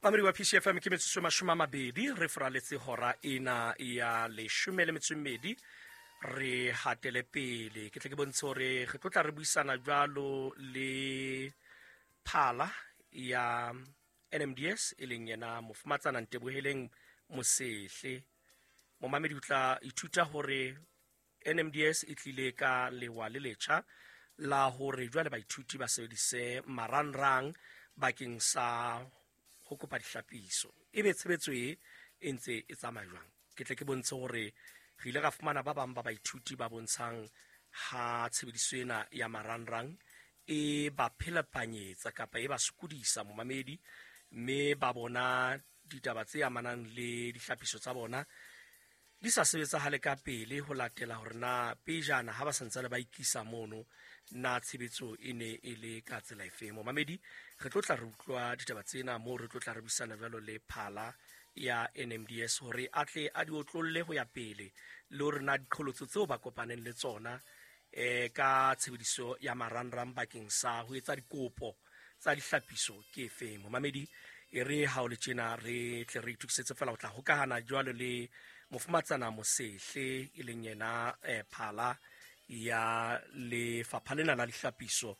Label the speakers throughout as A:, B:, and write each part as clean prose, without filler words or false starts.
A: Mamedi wa PCFM, ke metsotso e 20 re foraletse hora ena ya 12. Re hatele pele, ke tle ke bontshe hore re tlo tla re buisana jwalo le phala ya NMDS, e leng yena mofumatsana Nteboheleng Mosehle. Momamedi o tla ithuta hore NMDS e tlile ka lewa le letjha la hore jwale baithuti ba sebedise marangrang bakeng sa ho kopa dihlapiso. Ebe tshebetso e e ntse e tsamaya jwang? Ke tle ke bontshe hore re ile ra fumana ba bang ba baithuti ba bontshang ha tshebediso ena ya marangrang e ba phelepanyetsa kapa e ba sokodisa, momamedi, mme ba bona ditaba tse amanang le dihlapiso tsa bona di sa sebetsahale ka pele ho latela hore na pejana ha ba santsane ba ikisa mono na tshebetso e ne e le ka tsela efe. Momamedi, re tlo tla re utlwa ditaba tsena moo re tlo tla re buisana jwalo le phala ya NMDS hore a tle a di otlolle ho ya pele le hore na diqholotso tseo ba kopaneng le tsona ka tshebediso ya marangrang bakeng sa ho etsa dikopo tsa dihlapiso ke efeng. Momamedi, e re ha o le tjena re tle re itokisetse fela ho tla hokahana jwalo le mofumatsana Mosehle, e leng yena phala ya lefapha lena la dihlapiso,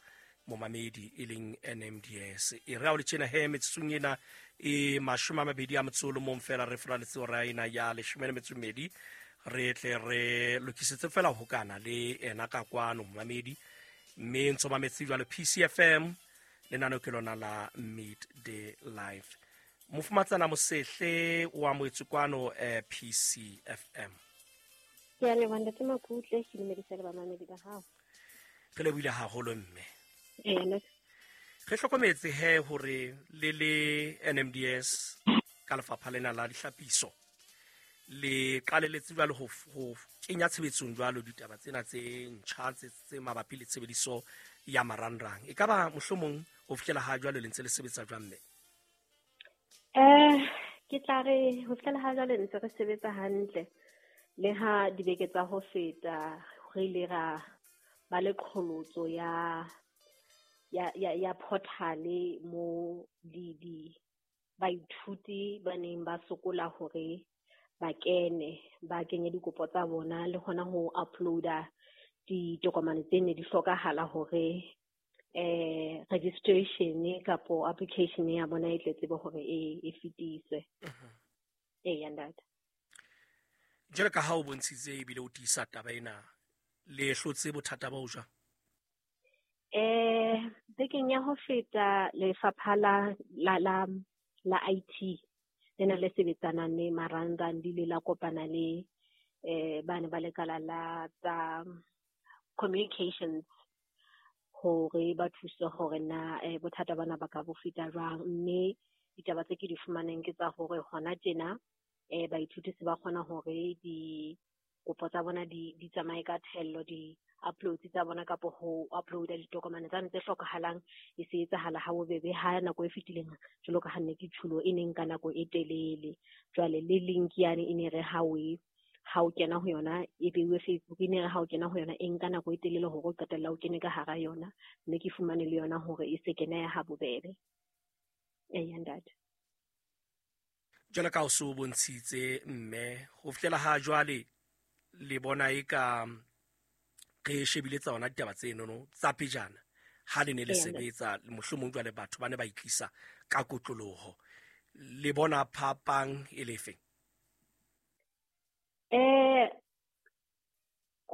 A: momamedi, e leng NMDS. E re ha o le tjena he metsotsong ena e 21 fela re foraletse hora ena ya 12, re tle re lokisetse fela ho hokana le ena ka kwano, momamedi, mme ntso mametse jwalo PCFM, lenaneo ke lona la Midday Life. Mofumatsana Mosehle o amohetswe kwano PCFM.
B: Ke a leboha, Ntate Makutle, ke dumedisa le bamamedi ba hao.
A: Re lebohile haholo, mme. Re hlokometse he hore le le NMDS ka lefapha lena la dihlapiso le qaleletse jwalo ho kenya tshebetsong jwalo ditaba tsena tse ntjha tse mabapi le tshebediso ya marangrang. E ka ba mohlomong ho fihlela ha jwalo le ntse le sebetsa jwang, mme?
B: Ke tla re ho fihlela ha jwale ntse re sebetsa hantle, le ha dibeke tsa ho feta re ile ra ba le qholotso ya portal-e mo di baithuti ba neng ba sokola hore ba kene, ba kenye dikopo tsa bona le hona ho uploada ditokomane tse ne di hlokahala hore registration kapo application ya bona e tle tsebe hore e fetiswe. Ee, ntate.
A: Jwalo ka ha o bontshitse ebile o tiisa taba ena, le hlotse bothata ba ho jwang?
B: Bekeng ya ho feta lefapha la IT lena le sebetsanang le marangrang le ile la kopana le bane ba lekala la tsa communications hore ba thuse hore na bothata bana ba ka bo feta jwang. Mme ditaba tse ke di fumaneng ke tsa hore hona tjena baithuti se ba kgona hore dikopo tsa bona di tsamaye ka thello, di-uploads tsa bona kapo ho uploada ditokomane tsane tse hlokahalang e se etsahala ha bobebe ha nako e fetileng jwalo ka ha nne ke tjhulo e neng ka nako e telele. Jwale le link yane e ne re ha o kena ho yona e beiwe Facebook, e ne re ha o kena ho yona e nka nako e telele hore o qetella o kene ka hara yona, mme ke fumane le yona hore e se kene ha bobebe. Ee, ntate.
A: Jwalo ka o so bontshitse, mme, ho fihlela ha jwale le bona e ka re shebile tsa ona ditaba tsenono tsa pejana ha le ne le sebetsa, mohlomong jwale batho ba ne ba itlisa ka kotloloho, le bona phapang e lefe?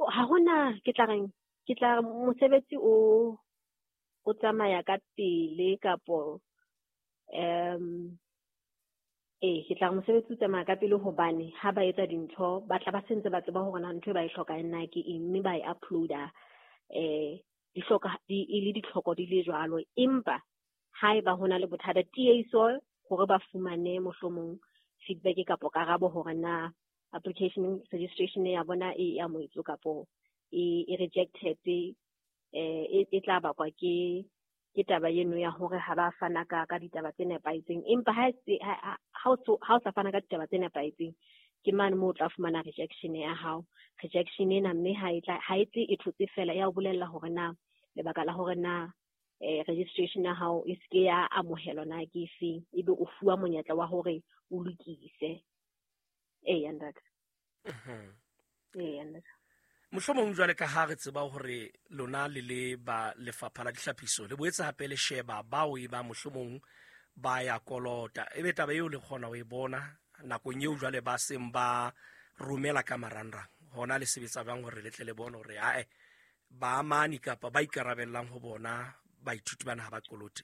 B: Ha hona, ke tla reng, ke tla mosebetsi o tsamaya ka pele kapo ke tla mosebetsi o tsamaya ka pele hobane ha ba etsa dintho ba tla ba sentse ba tseba hore na ntho e ba e hlokang na ke eng, mme ba e uploada di hloka di le ditlhoko di le jwalo. Empa haeba hona le bothata, tieso hore ba fumane mohlomong feedback kapo karabo hore na application registration ya bona e amohetswe kapo e rejected, e tla bakwa ke taba eno ya hore ha ba fana ka ditaba tse nepahetseng. Empa ha o sa fana ka ditaba tse nepahetseng, ke mane moo o tla fumana rejection ya hao. Rejection ena mme ha e tle e thotse fela, ya o bolella hore na lebaka la hore na Registration ya hao e seke ya amohelwa na ke efeng, ebe o fuwa monyetla wa hore o lokise. Eya ntate. Eya ntate.
A: Mohlomong jwale ka ha re tseba hore lona le le ba lefapha la dihlapiso le boetse hape le sheba bao e ba mohlomong ba ya kolota, ebe taba eo le kgona ho e bona nakong eo jwale ba seng ba romela ka marangrang, hona le sebetsa jwang hore le tle le bone hore ae ba amani kapa ba ikarabellang ho bona baithuti bana ha ba kolote?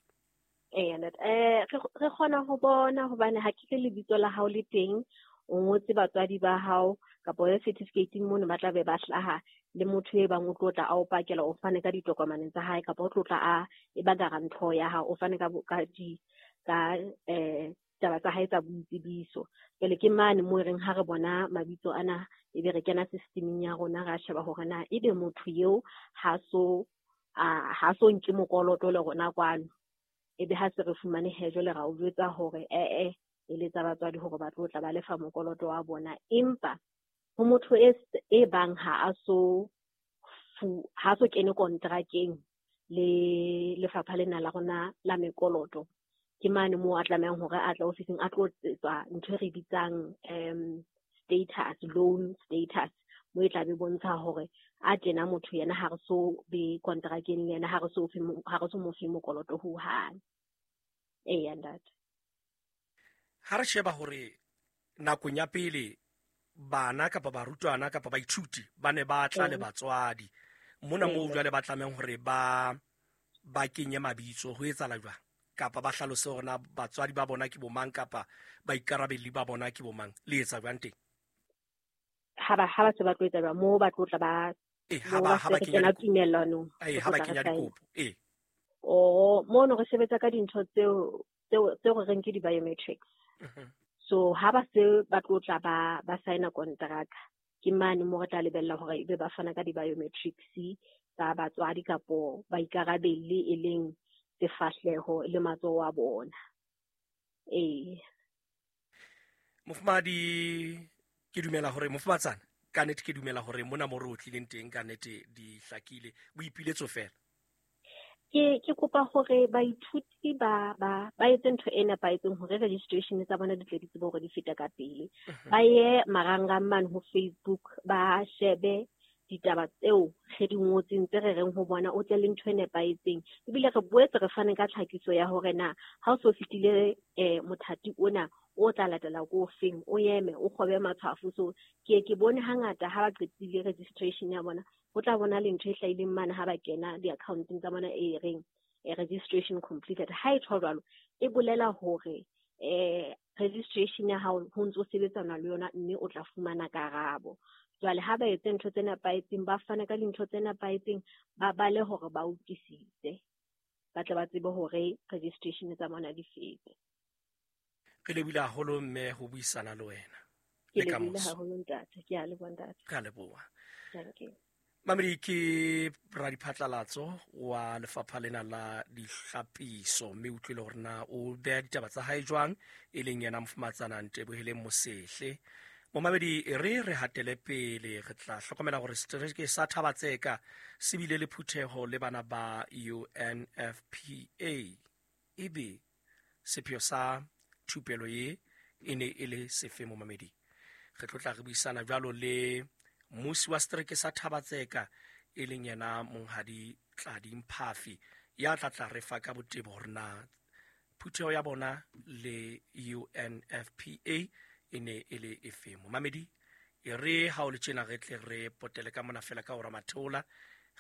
B: Eya ntate, re kgona ho bona hobane ha ke re lebitso la hao le teng, o ngotse batswadi ba hao kapa ya certificate mono ba tla be ba hlaha, le motho e bang o tlo tla a o pakela, o fane ka ditokomane tsa hae kapa o tlo tla a e ba guarantor ya hao, o fane ka ka taba tsa hae tsa boitsebiso. Jwale ke mane moo e reng ha re bona mabitso ana, ebe re kena systemeng ya rona, ra sheba hore na ebe motho eo ha so nke mokoloto le rona kwano. Ebe ha se re fumane he, jwale ra o jwetsa hore e eletsa batswadi hore ba tlo tla ba lefa mokoloto wa bona. Empa ho motho e bang ha a so kene kontrakeng le lefapha lena la rona la mekoloto, ke mane moo a tlamehang hore a tla ofising a tlo tsetswa ntho e re bitsang status, loan status, mo e tla be bontsha hore a tjena motho yena ha re so be kontrakeng le yena, ha re so mo fe mokoloto ho hang. Eya ntate.
A: Ha re sheba hore nakong ya pele bana kapa barutwana kapa baithuti ba ne ba tla le batswadi mona moo jwale ba tlamehang hore ba kenye mabitso, ho etsahala jwang? Kapa ba hlalose hore na batswadi ba bona ke bomang kapa baikarabelli ba bona ke bomang, le etsa jwang teng?
B: Ha ba se ba tlo etsa jwang moo ba tlo tla ba
A: ha ba kenya
B: tumellanong,
A: ha ba kenya dikopo.
B: O mono re sebetsa ka dintho tseo re reng ke di-biometrics. So ha ba se ba tlo tla ba signa kontraka, ke mane mo re tla lebella hore ebe ba fana ka di-biometrics tsa batswadi kapo baikarabelli, e leng sefahleho le matsoho a bona. Ee.
A: Mofumahadi, ke dumela hore mofumatsana ka nnete, ke dumela hore mona mo re o tlileng teng ka nnete di hlakile, boipiletso fela.
B: Ke kopa hore baithuti ba etse ntho e nepahetseng hore registration tsa bona di tle di tsebe hore di feta ka pele. Ba ye marangrang mane ho Facebook, ba shebe ditaba tseo re di ngotseng tse re reng ho bona, o tle le ntho e nepahetseng. Ebile re boetse re fane ka tlhakiso ya hore na ha o so fetile mothati ona o tla latela ko feng, o eme o kgobe matshwafo. So ke bone hangata ha ba qetile registration ya bona, ho tla bona le ntho e hlahileng mane ha ba kena di-accounteng tsa bona e reng registration completed. Ha e tjho jwalo, e bolela hore registration ya hao ho ntso sebetsana le yona, mme o tla fumana karabo. Jwale ha ba etse ntho tse nepahetseng, ba fane ka dintho tse nepahetseng, ba bale hore ba utlwisise, ba tle ba tsebe hore registration tsa bona di fete.
A: Re lebohile haholo mme ho buisana le wena.
B: Ke lebohile haholo ntate, ke a leboha ntate.
A: Re a leboha.
B: Thank you.
A: Mamedi ke radiphatlalatso wa lefapha lena la dihlapiso, mme utlwile hore na o beha ditaba tsa hae jwang, e leng yena mofumatsana Nteboheleng Mosehle. Momamedi, re hatele pele, re tla hlokomela hore setereke sa Thabatseka se bile le phutheho le bana ba UNFPA. Ebe sepheo sa thupelo ye e ne e le sefe momamedi? Re tlo tla re buisana jwalo le mmusi wa setereke sa Thabatseka, e leng yena Monghadi Tladi Mphafi, ya tla re fa ka botebo hore na phutheho ya bona le UNFPA e ne e le efe. Momamedi, e re ha o le tjena re tle re potele ka mona fela ka hora matheola,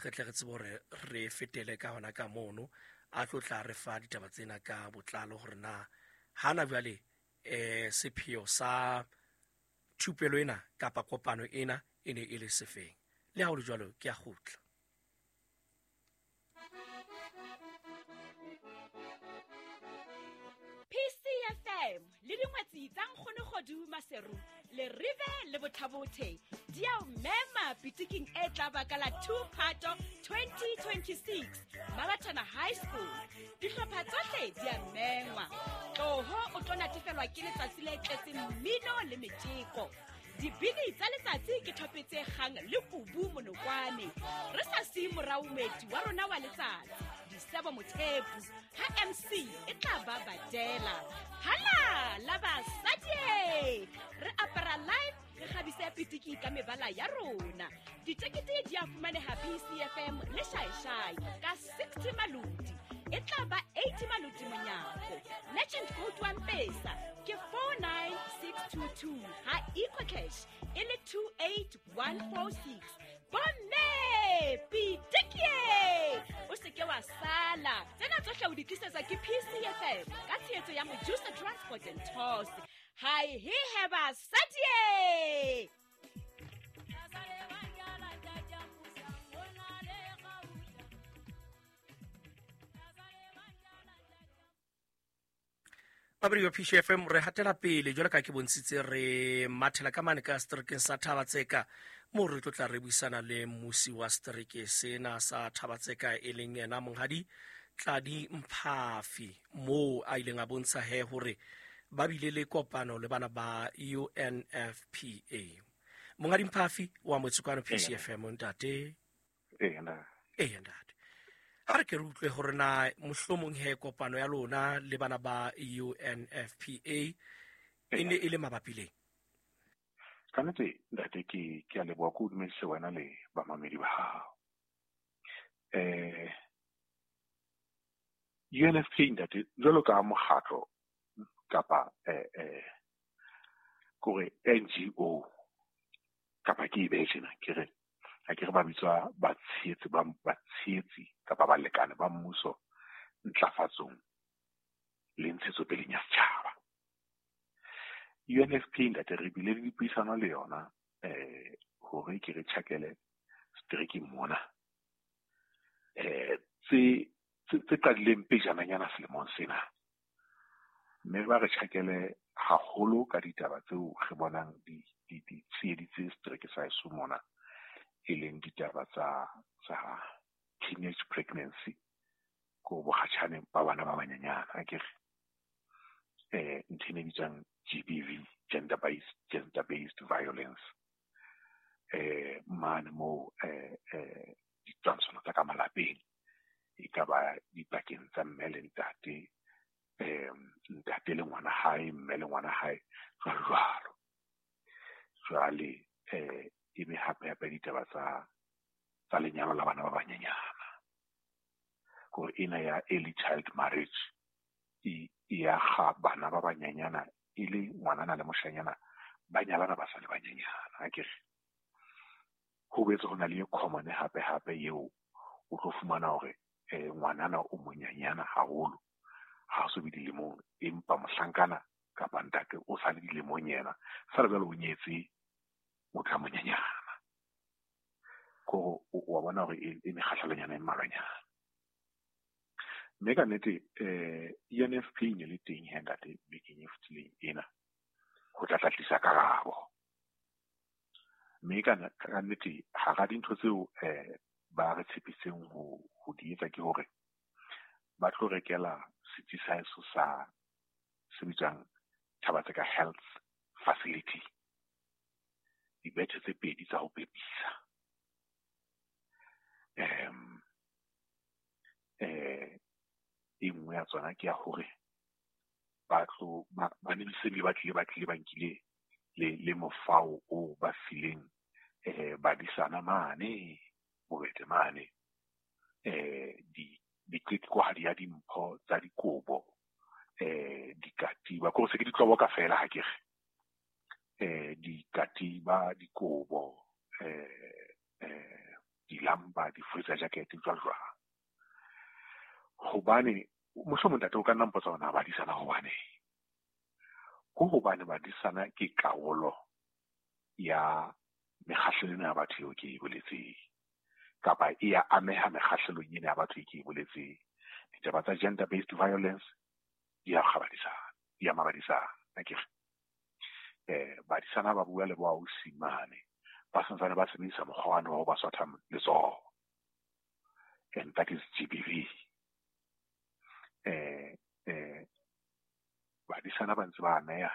A: re tle re tsebe hore re fetele ka hona ka mono, a tlo tla re fa ditaba tsena ka botlalo hore na hana jwale sepheo sa thupelo ena kapa kopano ena e ne e le sefeng. Le ha ho le jwalo, ke a kgutla.
C: PCFM le dingwetsi tsa Nkgonogodu Maseru le Rive le Bothabothe di a o mema pitiking e tla baka la 2 Phato 2026 Mabathana High School. Dihlopha tsohle di a mengwa. Tloho o tlo natefelwa ke letsatsi le tletseng mmino le metjeko. Dibini tsa letsatsi ke thope tse kgang le kubu monokwane. Re sa siye morao moeti wa rona wa letsatsi. Disebo Mothepu, ha MC e tla ba Badela. Hala la basadi, re apara live, re kgabise pitiki ka mebala ya rona. Ditekete di a fumaneha PCFM le Shaishai ka 60 maloti. E tla ba 80 maloti monyako. Legend code wa Mpesa ke 49622, ha EcoCash e le 28146. Bomme pitikie, o se ke wa sala. Tsena tsohle o di tlisetsa ke PCFM ka tshehetso ya Mojusa Transport and Tours. Hai he he basadi.
A: Babedi wa PCFM, re hatela pele jwalo ka ke bontshitse, re mathela ka mane ka seterekeng sa Thabatseka, moo re tlo tla re buisana le mmusi wa setereke sena sa Thabatseka, e leng yena Monghadi Tladi Mphafi, moo a ileng a bontsha he hore ba bile le kopano le bana ba UNFPA. Monghadi Mphafi wa Motsekwana PCFM, ntate.
D: Ee, ntate.
A: Ee, ntate. Ha re ke re utlwe hore na mohlomong he kopano ya lona le bana ba UNFPA e ne e le mabapi leng?
D: Ka nnete ntate, ke a leboha, ke o dumedise wena le bamamedi ba hao. UNFPA ntate, jwalo ka mokgatlo kapa kore NGO kapa ke e behe tjena, ke re ha ke re ba bitswa batshehetsi ba batshehetsi kapa balekane ba mmuso ntlafatsong le ntshetsopeleng ya setjhaba. UNFPA ntate, re bile le dipuisano le yona hore ke re tjhakele seterekeng mona tse qadileng pejananyana selemong sena, mme ba re tjhakele haholo ka ditaba tseo re bonang di tsheheditse setereke sa heso mona, e leng ditaba tsa teenage pregnancy, ko bokgatjhane ba bana ba banyenyana, akere ntho e bitswang GBV, gender based violence, mane moo ditwantshono tsa ka malapeng, e ka ba dipakeng tsa mme le ntate, ntate le ngwana hae, mme le ngwana hae, jwalo jwalo. Jwale e be hape hape ditaba tsa lenyalo la bana ba banyenyana, hore ena ya early child marriage e ya ga bana ba banyenyana, e le ngwanana le moshanyana ba nyalana ba sa le banyenyana, akere. Ho boetse ho na le e common hape hape eo o tlo fumana hore ngwanana o monyenyana haholo, ha o so be dilemong, empa mohlankana kapa ntate o sa le dilemong yena, sa le jwale o nyetse motho a monyenyana. Ko wa bona hore e mekgahlelonyana e mmalwanyana. Mme ka nnete UNFPA e ne le teng he ntate bekeng e fetileng ena ho tla tlisa karabo. Mme ka nnete hara dintho tseo ba re tshepiseng ho di etsa ke hore ba tlo rekela setsi sa heso sa se bitswang Thabatseka Health Facility dibethe tse pedi tsa ho pepisa. E nngwe ya tsona ke ya hore ba tlo ba ne se ba tlile ba nkile le mofao o ba fileng badisana mane bobete mane, diqeqwahadi ya dimpho tsa dikobo, dikatiba, ko se ke ditlobo ka fela ha ke re, dikatiba, dikobo, dilamba, di-freezer jacket, jwalo jwalo. Hobane mohlomong ntate o ka nna mpotsa hore na badisana hobane, ko hobane badisana ke karolo ya mekgahlelo ena ya batho eo ke e boletseng, kapa e ya ameha mekgahlelong ena ya batho e ke e boletseng. Ditaba tsa gender based violence di a kgabadisana, di ama badisana, akere. Badisana ba bua le boausi mane, ba santsane ba sebedisa mokgwa wane wa ho ba swatha letsoho, and that is GBV. Badisana ba ntse ba ameha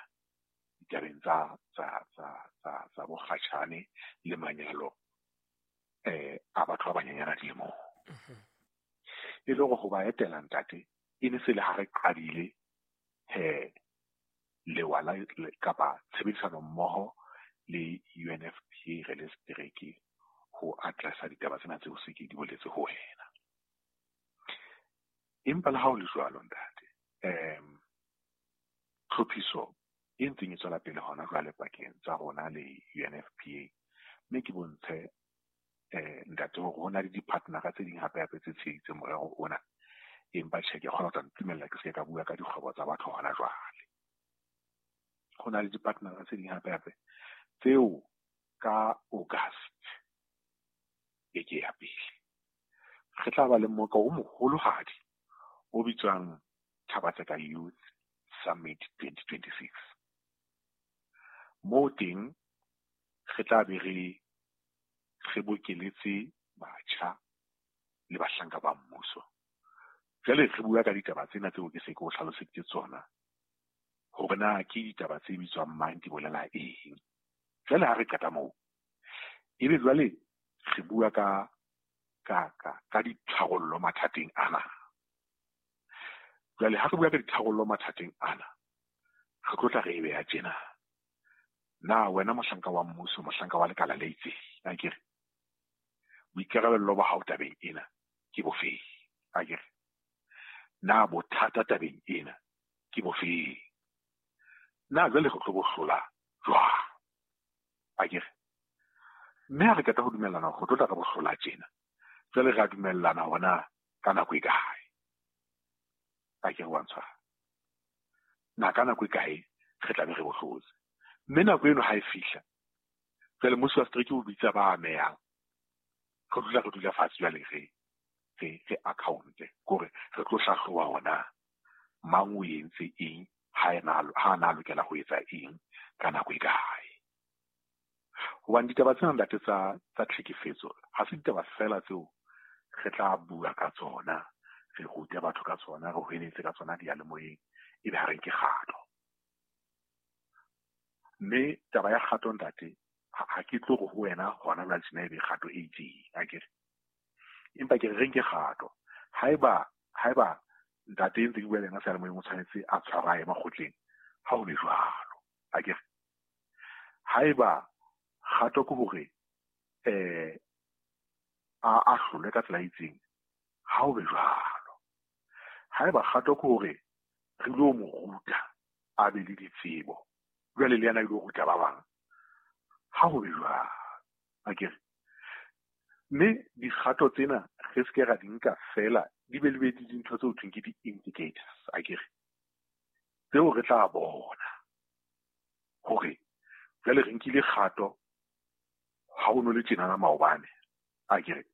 D: ditabeng tsa bokgatjhane le manyalo a batho ba banyenyana dilemong. E le hore ho ba etela ntate e ne se le ha re qadile he lewa la kapa tshebedisano mmoho le UNFPA re le setereke ho addressa ditaba tsena tseo se ke di boletse ho wena. Empa le ha ho le jwalo ntate, tlhophiso e ntseng e tswela pele hona jwale pakeng tsa rona le UNFPA, mme ke bontshe ntate hore ho na le di-partnera tse ding hape hape tse tsheheditseng morero ona. Empa tjhe, ke kgona ho tla ntumella ke se ka bua ka dikgwebo tsa batho hona jwale. Ho na le di-partnera tse ding hape hape tseo ka August beke ya pele re tla ba le mmoka o moholohadi o bitswang Thaba-Tseka Youth Summit 2026. Moo teng re tla be re bokeletse batjha le bahlanka ba mmuso. Jwale re bua ka ditaba tsena tseo ke se ke o hlaloseditse tsona, hore na ke ditaba tse bitswang mang, di bolela eng. Jwale ha re qeta moo, ebe jwale re bua ka ditharollo mathateng ana. Jwale ha re bua ka ditharollo mathateng ana, re tlo tla re e beha tjena. Na wena mohlanka wa mmuso, mohlanka wa lekala le itseng, akere boikarabello ba hao tabeng ena ke bofeng? Akere na bothata tabeng ena ke bofeng? Na jwale re tlo bo hlola jwang? Akere mme ha re qeta ho dumellana hore re tlo tla re bo hlola tjena, jwale re a dumellana hore na ka nako e kae? Akere wa ntshwara? Na ka nako e kae re tla be re bo hlotse? Mme nako eno ha e fihla, jwale mmuso wa setereke o bitsa ba amehang, re dula re dula fatshe jwale re account-e, kore re tlo hlahloba hore mang o entse eng, ha na lokela ho etsa eng ka nako e kae. Hobane ditaba tsena ntate tsa tlhekefetso ha se ditaba fela tseo re tla bua ka tsona, re rute batho ka tsona, re hweletse ka tsona diyalemoyeng, ebe ha re nke kgato. Mme taba ya kgato ntate, ha ke tlo re ho wena hona jwale tjena ebe kgato e itseng, akere. Empa ke re nke kgato. Haeba ntate ntse ke bua le yena seyalemoyeng o tshwanetse a tshwarwa a ye makgotleng, ha ho be jwalo, akere. Haeba kgato ke hore a hlolwe ka tsela e itseng, ha ho be jwalo. Haeba kgato ke hore re lo mo ruta a be le ditsebo, jwale le yena ilo ruta ba bang, ha ho be jwalo, akere. Mme dikgato tsena re se ke ra di nka fela, di be le be dintho tseo thweng ke di-indicators, akere, tseo re tla bona hore jwale re nkile kgato ha ho no le tjenana maobane, akere,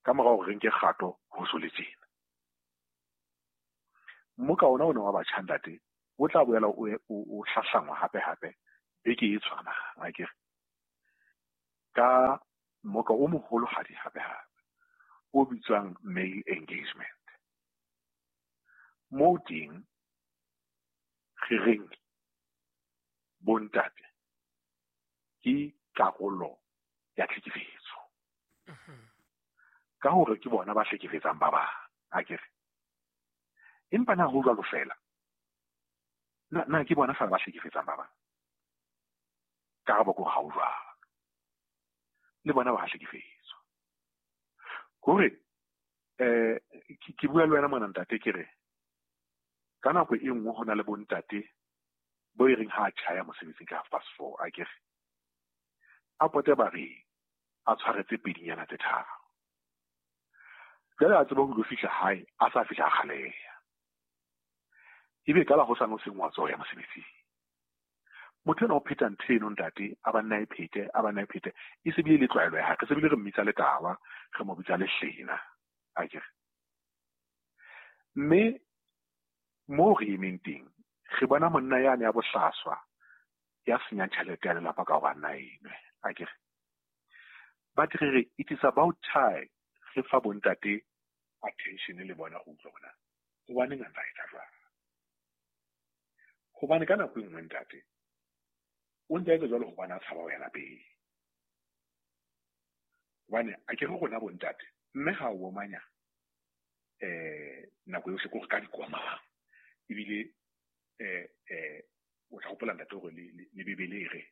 D: ka mora hore re nke kgato ho so le tjena. Mmoka ona wa batjha ntate o tla boela o hlahlangwa hape hape beke e tshwanang, akere, ka mmoka o moholohadi hape hape o bitswang male engagement. Moo teng re reng bontate ke karolo ya tlhekefetso, ka hore ke bona ba hlekefetsang ba bang, akere. Empa na ho jwalo fela? Na ke bona fela ba hlekefetsang ba bang? Karabo ke hore ha ho jwalo, le bona ba hlekefetswa. Hore ke bua le wena mona ntate, ke re ka nako e nngwe ho na le bontate bo e reng ha a tjhaya mosebetsing ka 4:30, akere, a pote bareng a tshwaretse pedinyana tse tharo. Jwale a tseba ho lo fihla hae, a sa fihla a kgaleha, ebe ka la hosane o seng wa tswa ho ya mosebetsing. Motho ena o pheta ntho eno ntate, a ba nna e phete, a ba nna e phete, e se bile le tlwaelo ya hae, re se bile re mmitsa letawa, re mo bitsa lehlena, akere. Mme moo re emeng teng, re bona monna yane ya bohlaswa ya senyang tjhelete ya lelapa ka hore a nna enwe, akere. But re re it is about time re fa bontate attention le bona ho utlwa hore na hobaneng a ntsa etsa jwalo. Hobane ka nako e nngwe ntate o ntse a etsa jwalo hobane a tshaba ho ya lapeng. Hobane a ke re rona bontate, mme ha o omanya Nako yohle ko re ka dikomang. Ebile o tla hopola ntate hore le Bibele e re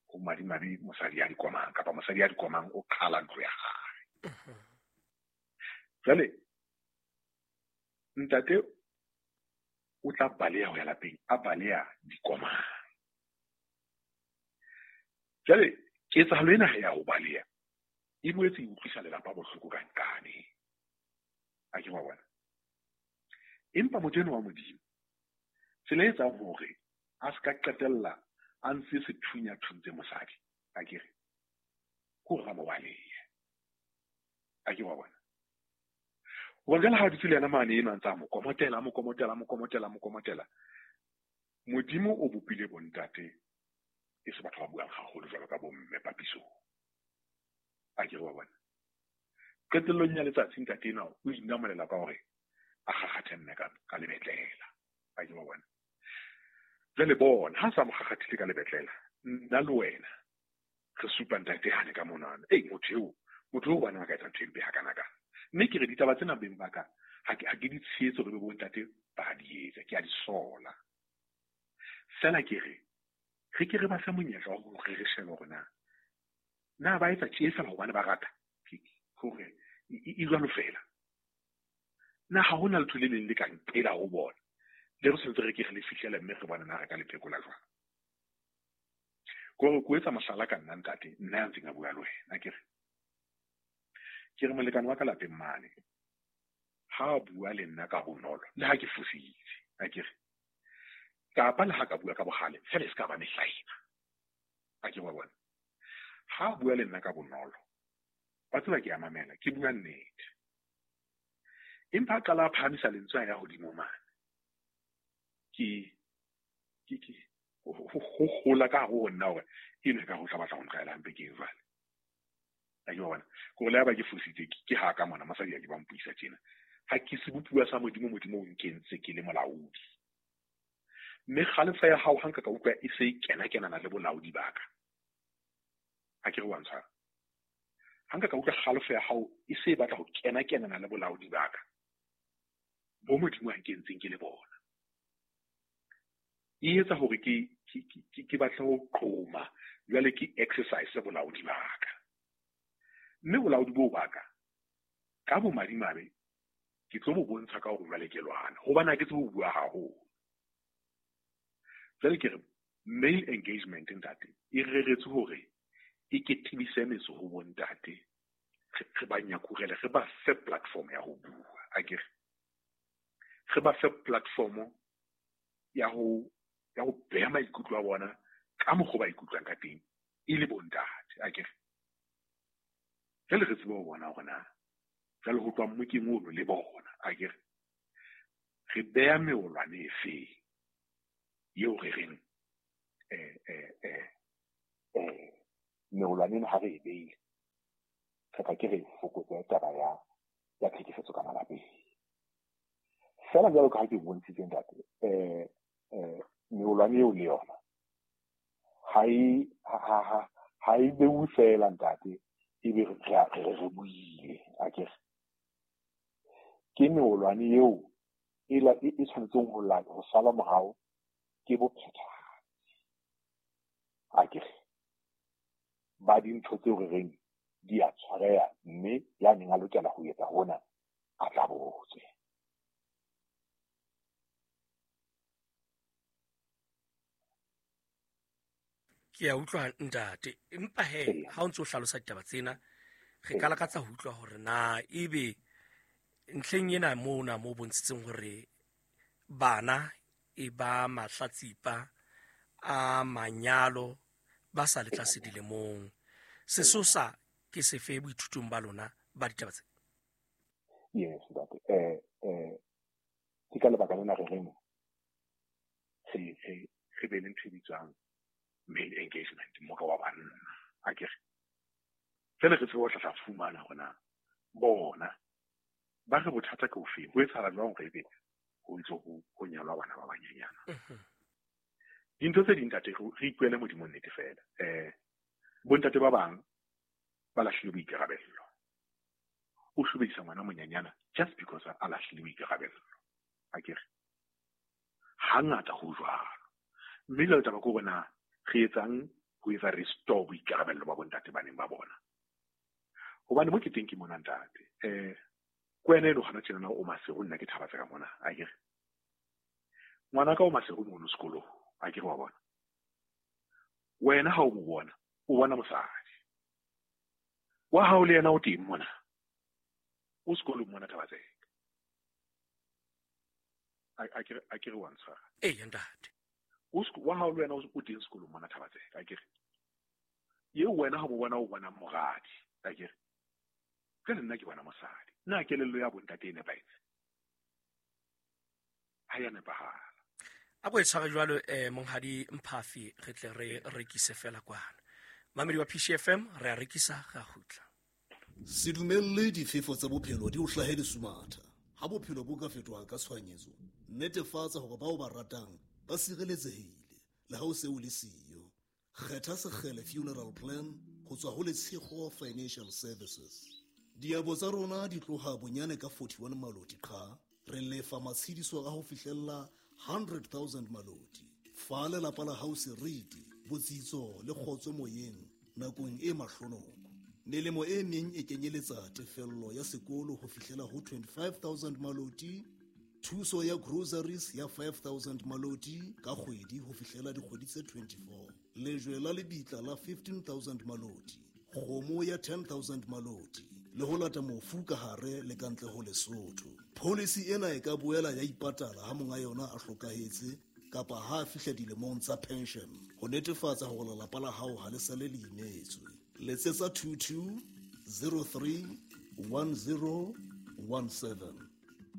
D: ho madimabe mosadi ya dikomang kapa mosadi ya dikomang o qhala ntlo ya hae. Jwale ntate o tla baleha ho ya lapeng, a baleha dikomang. Jwale ketsahalo ena ya ho baleha e boetse e utlwisa lelapa bohloko ka nkane. A ke wa bona. Empa motho enwa wa Modimo, tsela e etsang hore a se ka qetella a ntse sethunya thuntse mosadi, a ke re, ke hore a mo balehe. A ke wa bona. Hobane jwale ha a dutse le yena mane eno a ntse a mo komotela, a mo komotela, a mo komotela, a mo komotela. Modimo o bopile bontate e se batho ba buang haholo jwalo ka bomme papisong. A ke re wa bona. Qetellong ya letsatsi ntate enwa o inamolela ka hore a kgakgathe mme ka lebetlela. A ke wa bona. Jwale bona, ha sa mo kgakgathile ka lebetlela, nna le wena re supa ntate hane ka monwana. Ei, motho eo bana ba ka etsa ntho e mpe hakanakana. Mme ke re ditaba tsena beng ba ka, ha ke di tshehetse hore be bontate ba di etsa, ke a di sola. Feela ke re, re ke re ba fe monyetla wa hore re shebe hore na ba etsa tje feela hobane ba rata, hore e jwalo feela. Na ha hona letho le leng le ka nqela ho bona, le re sentse re ke re le fihlele mme re bone na re ka le phekola jwang. Ke hore ke o etsa mohlala ka nna ntate, nna ya ntseng a bua le wena, ke re molekane wa ka lapeng mane, ha a bua le nna ka bonolo, le ha ke fositse, a ke re, kapa le ha ka bua ka bohale, feela e se ka ba mehlaena. A ke wa bona. Ha a bua le nna ka bonolo, wa tseba ke a mamela, ke bua nnete. Empa a qala a phahamisa lentswe a ya hodimo mane, ke ho hola ka hare ho nna hore eno e ka ho tla batla ho ntlwaela hampe ke eng jwale. A ke wa bona. Ke hore le ha ba ke fositse, ke ha ka mona, mosadi a ke ba mpuisa tjena. Ha ke sebopuwa sa Modimo, Modimo o nkentse ke le molaodi. Mme kgalefo ya hao ha nka ka utlwa e se e kena-kenana le bolaodi ba ka. Ha ke re wa ntshwara. Ha nka ka utlwa kgalefo ya hao e se e batla ho kena-kenana le bolaodi ba ka, bo Modimo a nkentseng ke le bona. E etsa hore ke batle ho qoma, jwale ke exercise bolaodi ba ka. Mme bolaodi boo ba ka, ka bomadimabe, ke tlo bo bontsha ka hore jwale ke lwana, hobane ha ke tsebe ho bua haholo. Jwale ke re, male engagement ntate, e reretswe hore e ke tebise metso ho bontate, re ba nyakurele, re ba fe platform ya ho bua, a ke re. Re ba fe platform ya ho beha maikutlo a bona ka mokgwa ba ikutlwang ka teng e le bontate, a ke re. Jwale re tsebe ho bona hore na jwale ho tloha mmokeng ono le bona, a ke re. Re beha meolwane efe eo re reng, meolwane ena ha re e beile, re tla ke re fokotse taba ya tlhekefetso ka malapeng. Feela jwalo ka ha ke bontshitse ntate, meolwane eo le yona ha e beuwe feela ntate, ebe re buile, a ke re. Ke meolwane eo e tshwanetseng ho sala morao ke bophethahatsi, a ke re. Ba dintho tseo re reng di a tshwareha, mme ya neng a lokela ho etsa hona a tla botswe.
A: Ke a utlwa ntate, empa he ha o ntse o hlalosa ditaba tsena, re ka lakatsa ho utlwa hore na ebe ntlheng ena mona mo bontshitseng hore bana e ba mahlatsipa a manyalo ba sa le tlase dilemong, sesosa ke sefe boithutong ba lona ba ditaba tse?
D: Yes, ntate. Ke ka lebaka lena re reng re be le ntho e bitswang male engagement, mmoka wa banna, a ke re. Jwale re tsebe ho tla fumana hore na bona ba re bothata ke ofe, ho etsahala jwang hore ebe ho ntse ho nyalwa bana ba banyenyana. Dintho tse ding ntate, re ipuele Modimo nnete feela. Bontate ba bang ba lahlile boikarabello. O shobedisa ngwana monyanyana just because a lahlile boikarabello. Akere hangata ho jwalo. Mme jwale taba ke hore na re etsang ho etsa restore boikarabello ba bontate baneng ba bona. Hobane mo ke teng ke mona ntate. Ke wena eno hona tjena o Maseru, nna ke Thabatseka mona, akere. Ngwana ka o Maseru mono sekolong, akere wa bona. Wena ha o mo bona, o bona mosadi. Wa hao le yena o teng mona. O sekolong mona Thabatseka. Akere wa ntshwara.
A: Ee, ntate.
D: Wa hao le wena o teng sekolong mona Thabatseka, akere. Eo wena ha mo bona o bona moradi, akere. Jwale nna ke bona mosadi. Na kelello ya bontate e nepahetse? Ha ya nepahala.
A: A ko e tshware jwalo monghadi Mphafi, re tle re rekise fela kwana. Mamedi wa PCFM, re a rekisa, re a kgutla.
E: Se dumelle difefo tsa bophelo di o hlahe lesumatha. Ha bophelo bo ka fetoha ka tshohanyetso, netefatsa hore bao ba ratang ba sireletsehile le ha o se o le siyo. Kgetha Sekgele Funeral Plan ho tswa ho Letshego Financial Services. Diabo tsa rona di tloha bonyane ka 41 maloti qha, re lefa matshediso a ho fihlella 100,000 maloti. Fa lelapa la hao seriti, botsitso le kgotso moyeng nakong e mahlonoko. Melemo e meng e kenyeletsa tefello ya sekolo ho fihlela ho 25,000 maloti, thuso ya groceries ya 5,000 maloti ka kgwedi ho fihlela dikgwedi tse 24, lejwe la lebitla la 15,000 maloti, kgomo ya 10,000 maloti, le ho lata mofu ka hare le ka ntle ho Lesotho. Policy ena e ka boela ya ipatala ha monga yona a hlokahetse kapa ha a fihla dilemong tsa pension, ho netefatsa hore lelapa la hao ha le sale le imetswe. Letsetsa 22 03 10 17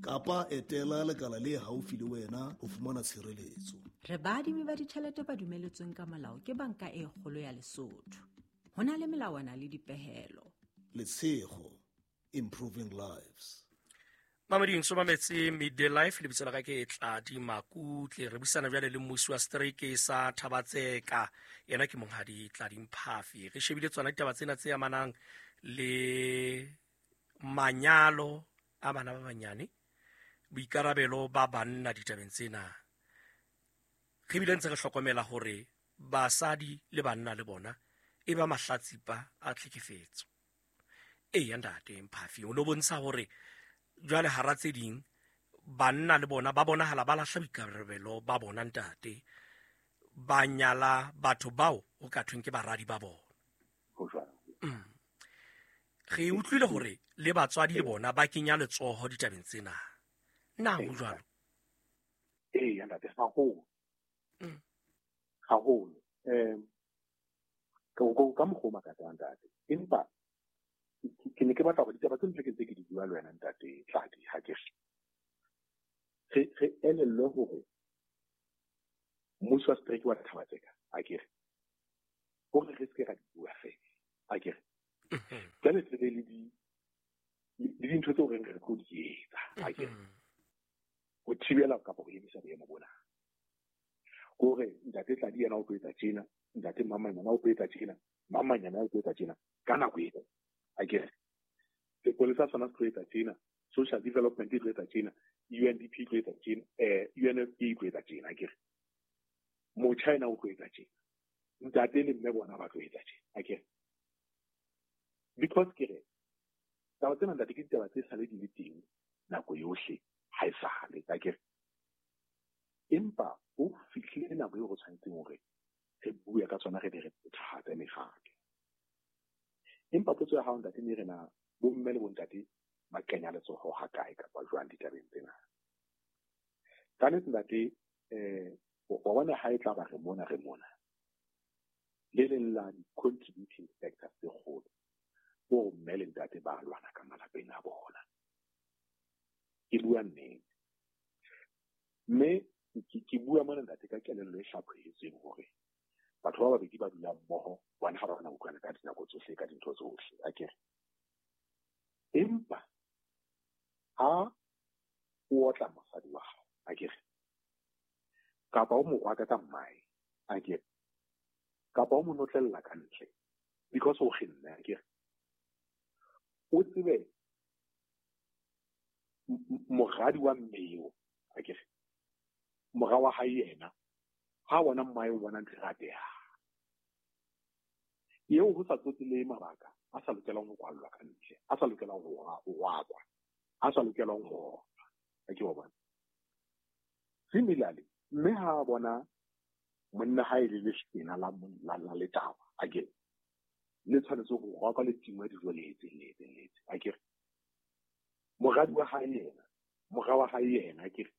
E: kapa etela lekala le haufi le wena ho fumana tshireletso.
F: Re baadimi ba ditjhelete ba dumeletsweng ka molao ke banka e kgolo ya Lesotho. Ho na le melawana le dipehelo.
E: Letshego, improving lives.
A: Mameding so mametse Midday Life, lebitso la ka ke Tladi Makutle. Re buisana jwale le mmusi wa setereke sa Thabatseka, yena ke monghadi Tladi Mphafi. Re shebile tsona ditaba tsena tse amanang le manyalo a bana ba banyane, boikarabelo ba banna ditabeng tsena. Re bile ntse re hlokomela hore basadi le banna le bona e ba mahlatsipa a tlhekefetso. Eya ntate Mphafi, o no bontsha hore jwale hara tse ding banna le bona ba bonahala ba lahla boikarabelo ba bona ntate, ba nyala batho bao ho ka thweng ke baradi ba bona. Re utlwile hore le batswadi le bona ba kenya letsoho ditabeng tsena. Na ho jwalo?
D: Eya ntate, haholo. Haholo. Ka mokgwa o makatsang ntate. Empa ke ne ke batla hore ditaba tse ntse ke ntse ke di bua le wena ntate Tladi, ha ke re elellwe hore mmuso wa setereke wa Thabatseka, akere, hore re se ke ra di bua fela, akere. Jwale re be le dintho tseo reng re tlo di etsa, akere, ho thibela kapa ho emisa boemo bona. Hore ntate Tladi yena o tlo etsa tjena, ntate Mamanyana o tlo etsa tjena, Mamanyana o tlo etsa tjena ka nako eo. Akere sepolesa sona se tlo etsa tjena, social development e tlo etsa tjena, UNDP e tlo etsa tjena, UNFP e tlo etsa tjena, akere. Motjha ena o tlo etsa tjena, ntate le mme bona ba tlo etsa tjena, akere. Because ke re taba tsena ntate ke ditaba tse sale di le teng nako yohle, ha e sale, akere. Empa ho fihlile nako eo re tshwanetseng hore re bue ka tsona, re be re phethahatse mekgatlo. Empa potso ya hao ntate ne re na bomme le bontate ba kenya letsoho ha kae kapa jwang ditabeng tsena. Ka nnete ntate, wa bona ha e tla ba re mona le leng la di-contributing factors tse kgolo ke hore mme le ntate ba lwana ka malapeng a bona. Ke bua nnete. Mme ke bua mona ntate ka kelello e hlaphohetsweng hore batho ba babedi ba dulang mmoho bona ha ba na utlwana ka dinako tsohle, ka dintho tsohle, akere. Empa ha o otla mosadi wa hao, akere, kapa o mo rwaka ka mmae, akere, kapa o mo notlella ka ntle because o kgenne, akere, o tsebe Moradi wa mme eo, akere mora wa hae yena ha bona mmae o bona ntho e ratehang eo, ho sa tsotelehe mabaka a sa lokelang ho kwallwa ka ntle, a sa lokelang ho wakwa, a sa lokelang ho otlwa, a ke wa bona. Similarly, mme ha bona monna ha e le lesena la la letawa, akere le tshwanetse ho roka le tingwe dijo le etseng le etseng le etseng, akere moradi wa hae yena, mora wa hae yena, akere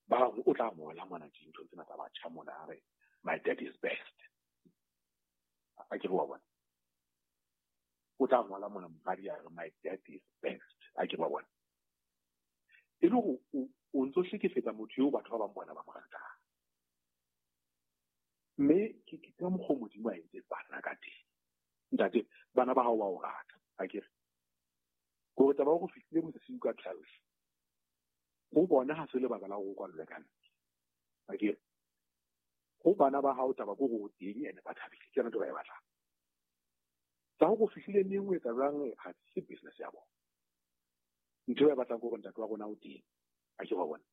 D: ba o tla ngola mona dintho tsena tsa batjha mona, a re my dad is best, akere wa bona. O tla ngola mona moradi a re my dad is best, akere wa bona. E le hore o ntso hlekefetsa motho eo batho ba bang bona ba mo ratang. Mme ke ka mokgwa o Modimo a entseng bana ka teng. Ntate, bana ba hao ba o rata, akere. Kore taba ya hore o fihlile bosiu ka 12, ho bona ha se lebaka la hore o kwallwe ka ntle, akere. Ho bana ba hao taba ke hore o teng ene ba thabile, ke yona ntho ba e batlang. Tsa hore o fihlile neng o etsa jwang ha se business ya bona. Ntho e ba e batlang ke hore ntate wa rona o teng, akere wa bona.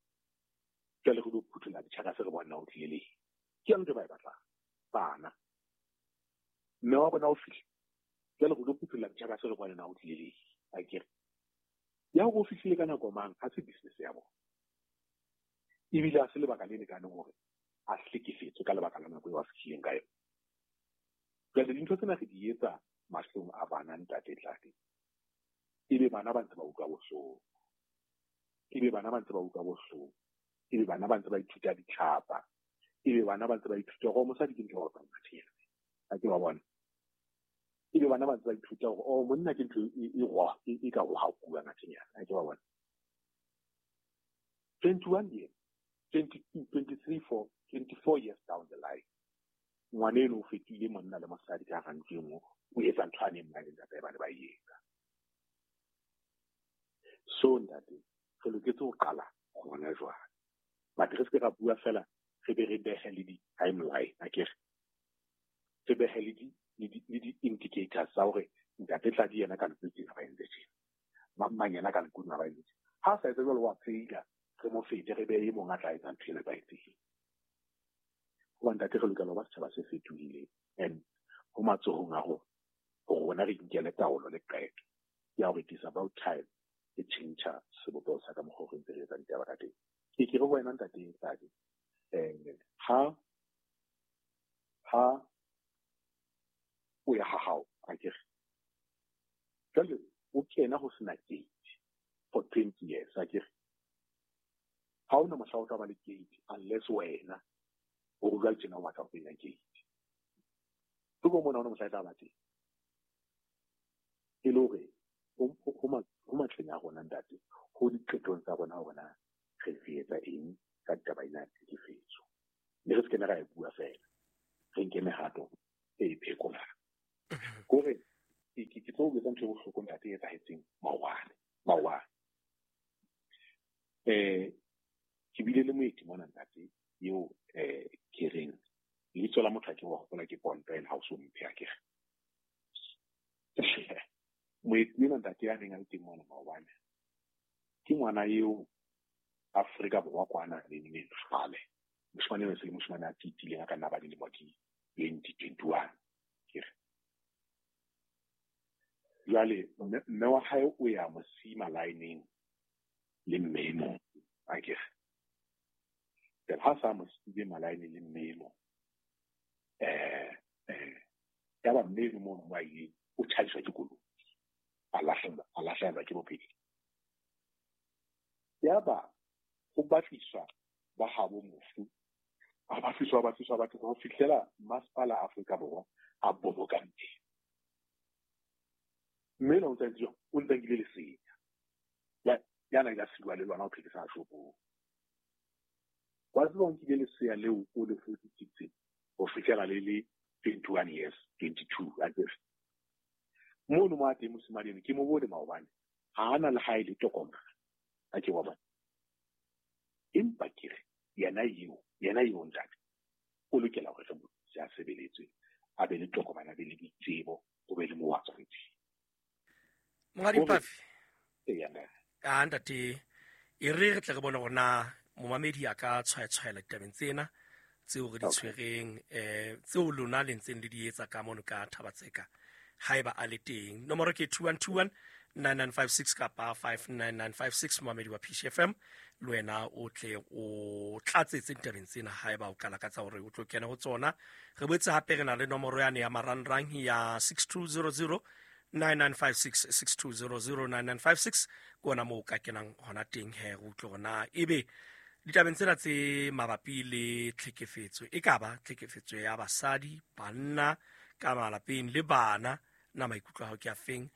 D: Jwale re lo phutholla ditjhaka se re bona o tlile leng. Ke yona ntho e ba e batlang, bana. Mme wa bona o fihle, jwale re lo phutholla ditjhaka se re bona na o tlile leng, akere. Ya hore o fihlile ka nako mang ha se business ya bona. Ebile ha se lebaka le lekaneng hore a hlekefetswe ka lebaka la nako eo a fihlileng ka yona. Jwale dintho tsena re di etsa mahlong a bana, ntate Tladi. Ebe bana ba ntse ba utlwa bohloko. Ebe bana ba ntse ba utlwa bohloko. Ebe bana ba ntse ba ithuta ditlhapa. Ebe bana ba ntse ba ithuta hore mosadi ke ntho ya ho tsamaya. Ha ke ba bona. Ebe bana ba ntse ba ithuta hore oh monna ke ntho e ka rohakuwa ngathenyana. Ha ke ba bona. 21 years, 22, 23, 4, 24 years down the line, ngwana eno o fetohile monna le mosadi ka hara ntlo e nngwe, o etsa ntho a neng ba le ntate ba ne ba e etsa. So ntate, re loketse ho qala hona jwale. But re se ke ra bua fela, re be re behe le di-timeline, akere. Re behe le di-indicators tsa hore ntate Tladi yena ka ntlo tsena ba entse tjena, mang mang yena ka ntlo tsena ba entse tjena. Ha a sa etse jwalo wa faila, re mo fete, re behe e mong a tla etsa ntho e nepahetseng. Hoba ntate re lokela ho ba setjhaba se fetohileng, and ho matsohong a rona hore rona re inkele taolo le qeto ya hore it is about time e tjhentjha sebopeho sa ka mokgwa o re ntse re etsa ditaba ka teng. Ke ke re ho wena ntate Tladi, ha o ya ha hao, akere jwale o kena ho sena gate for 20 years, akere ha ona mohla o tla ba le gate unless wena o re jwale tjena o batla ho kenya gate. Tsebo mona ona mohla e tla ba teng. E le hore ho matleng a rona ntate, ho diqetong tsa rona hore na re etsa eng ka taba ena ya tlhekefetso. Mme re se ke ra e bua fela, re nke mehato e phekolang. Kore ke tlo o etsa ntho e bohloko ntate e etsahetseng maobane. Ke bile le moeti mona ntate eo ke reng lebitso la motho ha ke wa hopola ke Ponto, ene ha o so mphe akere. Moeti ena ntate ya neng a le teng mona maobane ke ngwana eo Afrika Borwa kwana le neng kgale. Moshemane eno se le moshemane a titileng a ka nna ba dilemo di 20, 21 kere. Jwale mme wa hae o ya mosima line-eng le mme e mong, akere. Jwale ha sa mo siile malaeneng le mme e mong, ya ba mme eno mono mo a ileng o tjhaiswa ke koloi, a lahlehelwa ke bophelo. Ya ba ho batliswa ba habo mofu, a batliswa ho fihlela masepala Afrika Borwa a boloka mme. Mme ena o ntse o ntse nkile lesea. Ya na ile siwa le lona ho phekisa shopong. Wa tseba o nkile lesea leo o le hodisitse ho fihlela le le 21 years, 22 akere. Mono mo a teng mosimane eno ke mo bone maobane, ha ana le hae le tokomane, ha ke wa bona. Empa ke re yena eo ntate o lokela hore re mo thuse a sebeletswe, a be le tokomane, a be le ditsebo, o be le mo wa tswang teng.
A: Monghadi Pafi, A ntate, e re re tle re bone gore na momamedi a ka tshwaetshwaela ditabeng tsena tseo re di tshwereng, tseo lona le ntseng le di etsa ka mono ka Thabatseka, haeba a le teng. Nomoro ke 2121 9956 kapa 59956. Momamedi wa PCFM, le wena o tle o tlatsetse ditabeng tsena haeba o ka lakatsa hore o tlo kena ho tsona. Re boetse hape re na le nomoro yane ya marangrang ya 6200 9956, 6200 9956, ke ona moo o ka kenang hona teng he, re utlwe hore na ebe ditabeng tsena tse mabapi le tlhekefetso, e ka ba tlhekefetso ya basadi, banna ka malapeng le bana, na maikutlo a hao ke a feng?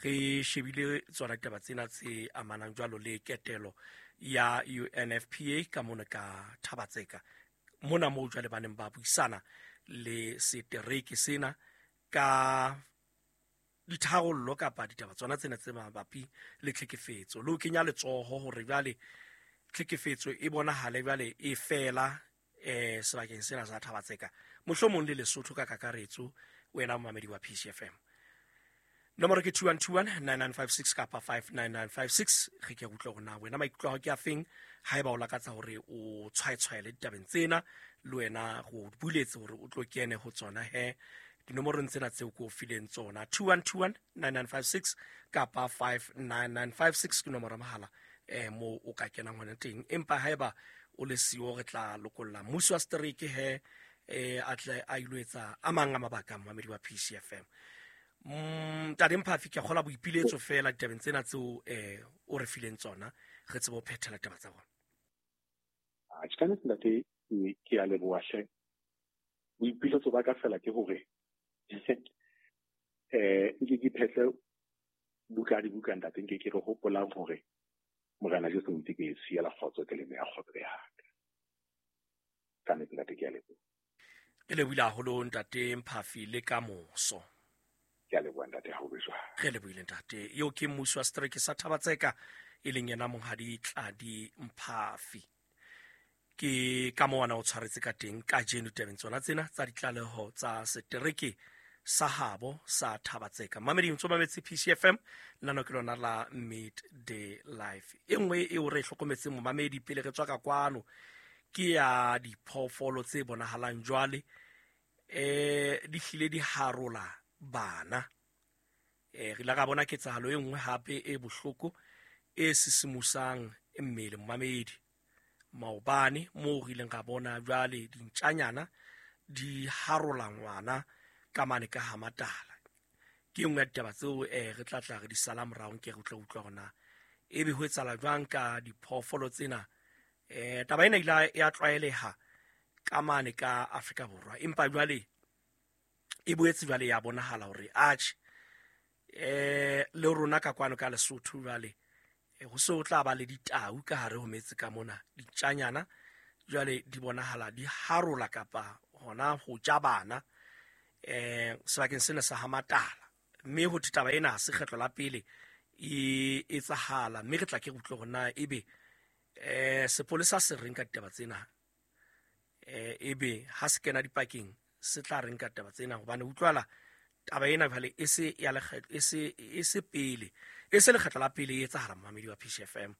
A: Re shebile tsona ditaba tsena tse amanang jwalo le ketelo ya UNFPA ka mona ka Thabatseka mona, moo jwale ba neng ba buisana le setereke sena ka ditharollo kapa ditaba tsona tsena tse mabapi le tlhekefetso, le ho kenya letsoho hore jwale tlhekefetso e bonahale jwale e fela sebakeng sena sa Thabatseka, mohlomong le Lesotho ka kakaretso. Wena momamedi wa PCFM, nomoro ke 2121 9956 kapa 59956. Re ke utlwe hore na wena maikutlo a hao ke a feng, haeba o lakatsa hore o tshwaetshwaele ditabeng tsena, le wena go buletse hore o tlo kene ho tsona he dinomorong tsena tseo ke o fileng tsona, 2121 9956 kapa 59956 ke nomoro ya mohala mo o ka kenang hona teng. Empa haeba o le siyo, re tla lokolla mmuso wa setereke he, a tle a ilo etsa a mang a mabaka. Momamedi wa PCFM, Ntate Mphafi, ke a kgola boipiletso fela ditabeng tsena tseo o re fileng tsona, re tsebe ho phethela taba tsa bona.
D: Atjhe, ka nnete ntate, ke a leboha hle. Boipiletso ba ka fela ke hore nke ke phetle buka dibuka ntate, nke ke re hopolang hore Morena Jesu o itse, ke siela kgotso, ke le neya kgotso ya ka. Ka nnete ntate, ke a leboha.
A: Ke lebohile haholo ntate Mphafi, le ka moso.
D: Ke a leboha ntate, ha o be jwalo.
A: Re lebohile ntate. Eo ke mmusi wa setereke sa Thabatseka, e leng yena monghadi Tladi Mphafi. Ke ka moo ana o tshwaretse ka teng kajeno tabeng tsona tsena tsa ditlaleho tsa setereke sa habo sa Thabatseka. Mamedi, ntso mametse PCFM, nano ke lona la Midday Life. E nngwe eo re e hlokometseng momamedi pele re tswa ka kwano ke ya diphoofolo tse bonahalang jwale di hlile di harola bana. Re ile ra bona ketsahalo e nngwe hape e bohloko e sisimusang mmele momamedi maobane, moo re ileng ra bona jwale dintjanyana di harola ngwana ka mane ka Hamatala. Ke nngwe ya ditaba tseo re tla tla re di sala morao, nke re tla utlwa hore na ebe ho etsahala jwang ka diphoofolo tsena. Taba ena ile ya tlwaeleha ka mane ka Afrika Borwa, empa jwale e boetse jwale ya bonahala hore atjhe, le rona ka kwano ka Lesotho jwale ho se ho tla ba le ditau ka hare ho metse ka mona. Dintjanyana jwale di bonahala di harola kapa hona ho ja bana sebakeng sena sa Hamatala, mme ho thwe taba ena ha se kgetlo la pele e etsahala, mme re tla ke re utlwe hore na ebe sepolesa se reng ka ditaba tsena, ebe ha se kena dipakeng se tla reng ka taba tsena, hobane utlwala taba ena jwale e se ya lekgetlo, e se pele, e se lekgetlo la pele e etsahala momamedi wa PCFM,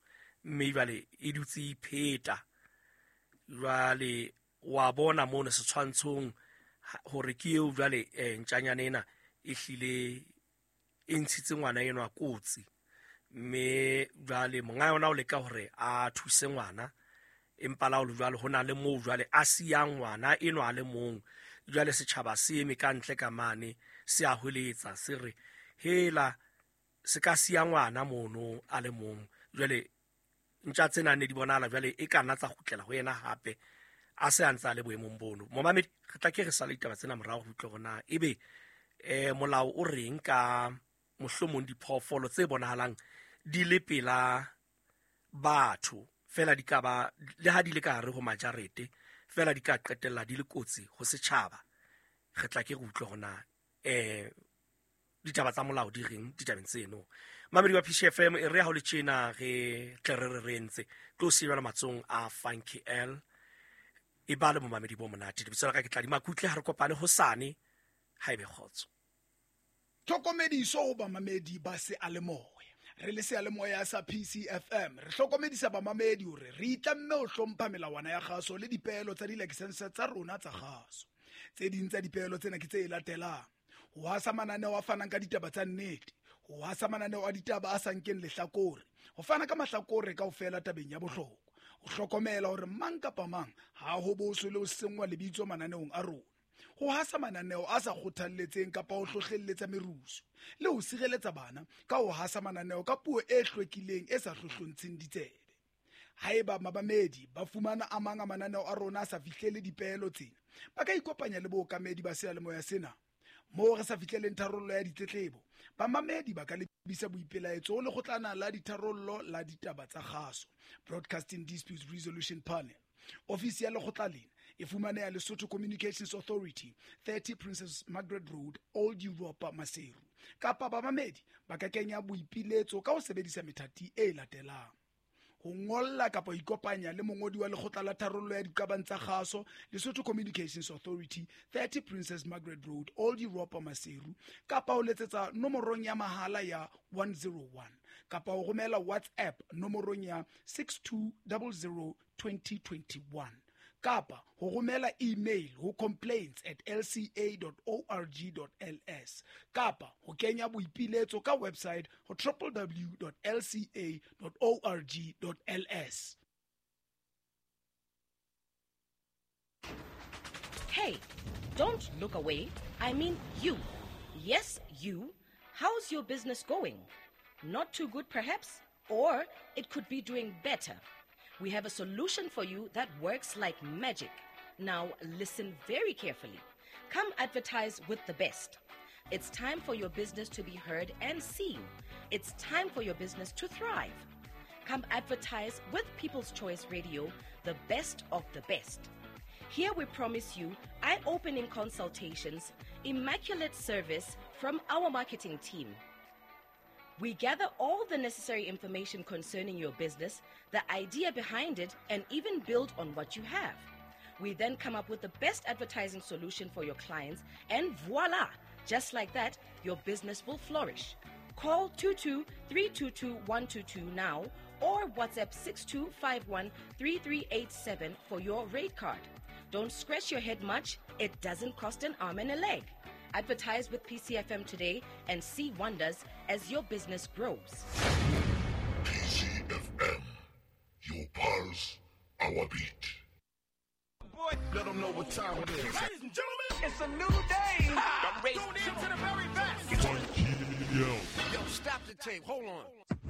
A: mme jwale e dutse e ipheta. Jwale wa bona mono setshwantshong hore ke eo jwale ntjanyana ena e hlile e ntshitse ngwana enwa kotsi, mme jwale monga yona o leka hore a thuse ngwana, empa la ho le jwalo ho na le moo jwale a siyang ngwana enwa a le mong. Jwale setjhaba se eme ka ntle ka mane se a hweletsa se re hela se ka siya ngwana mono a le mong. Jwale ntja tsena ne di bonahala jwale e ka nna tsa kgutlela ho yena hape a se a ntse a le boemong bono. Momamedi, re tla ke re sale ditaba tsena morao ho utlwe hore na ebe molao o reng ka mohlomong diphoofolo tse bonahalang di le pela batho fela, di ka ba le ha di le ka hare ho majarete fela di ka qetella di le kotsi ho setjhaba. Re tla ke re utlwe hore na ditaba tsa molao di reng ditabeng tseno. Mamedi wa PCFM, e re ha o le tjena re tle re re re ntse tlo sebela matsong a Funky L, e ba le momamedi bo monate. Lebitso la ka ke Tladi Makutle, ha re kopane hosane, ha ebe kgotso.
G: Tlhokomediso ho bamamedi ba seyalemoya. Re le seyalemoya sa PCFM re hlokomedisa bamamedi hore re itlamme ho hlompha melawana ya kgaso le dipeelo tsa dilakesense tsa rona tsa kgaso. Tse ding tsa dipeelo tsena ke tse latelang: ho hasa mananeo a fanang ka ditaba tsa nnete, ho hasa mananeo a ditaba a sa nkeng lehlakore, ho fana ka mahlakore kaofela tabeng ya bohlokwa, ho hlokomela hore mang kapa mang ha ho boswe le ho senngwa lebitso mananeong a rona, ho hasa mananeo a sa kgothalletseng kapa ho hlohlelletsa merusu, le ho sireletsa bana ka ho hasa mananeo ka puo e hlwekileng e sa hlohlontsheng ditsebe. Haeba mabamedi ba fumana a mang a mananeo a rona a sa fihlele dipeelo tsena, ba ka ikopanya le bookamedi ba seyalemoya sena. Moo re sa fihleleng tharollo ya ditletlebo, bamamedi ba ka lebisa boipelaetso ho lekgotlana la ditharollo la ditaba tsa kgaso, Broadcasting Disputes Resolution Panel. Ofisi ya lekgotla lena e fumaneha Lesotho Communications Authority, 30 Princess Margaret Road, Old Europa, Maseru. Kapa bamamedi ba ka kenya boipiletso ka ho sebedisa methati e latelang: ho ngolla kapa ho ikopanya le mongodi wa lekgotla la tharollo ya diqabang tsa kgaso, Lesotho Communications Authority, 30 Princess Margaret Road, Old Europa, Maseru, kapa ho letsetsa nomorong ya mahala ya 101, kapa ho romela WhatsApp nomorong ya 6200 2021, kapa ho romela email ho complaints@lca.org.ls, kapa ho kenya boipiletso ka website ho www.lca.org.ls.
C: Hey, don't look away. I mean you. Yes, you. How's your business going? Not too good, perhaps? Or it could be doing better. We have a solution for you that works like magic. Now, listen very carefully. Come advertise with the best. It's time for your business to be heard and seen. It's time for your business to thrive. Come advertise with People's Choice Radio, the best of the best. Here we promise you eye-opening consultations, immaculate service from our marketing team. We gather all the necessary information concerning your business, the idea behind it, and even build on what you have. We then come up with the best advertising solution for your clients, and voila! Just like that, your business will flourish. Call 22-322-122 now or WhatsApp 6251-3387 for your rate card. Don't scratch your head much. It doesn't cost an arm and a leg. Advertise with PCFM today and see wonders as your business grows.
D: PCFM, your pulse, our beat.
H: Boy, let them know what time it is.
I: Ladies and gentlemen,
H: it's a new day.
I: I'm ready. Tune in to the very best.
H: Yo, stop the tape. Hold on.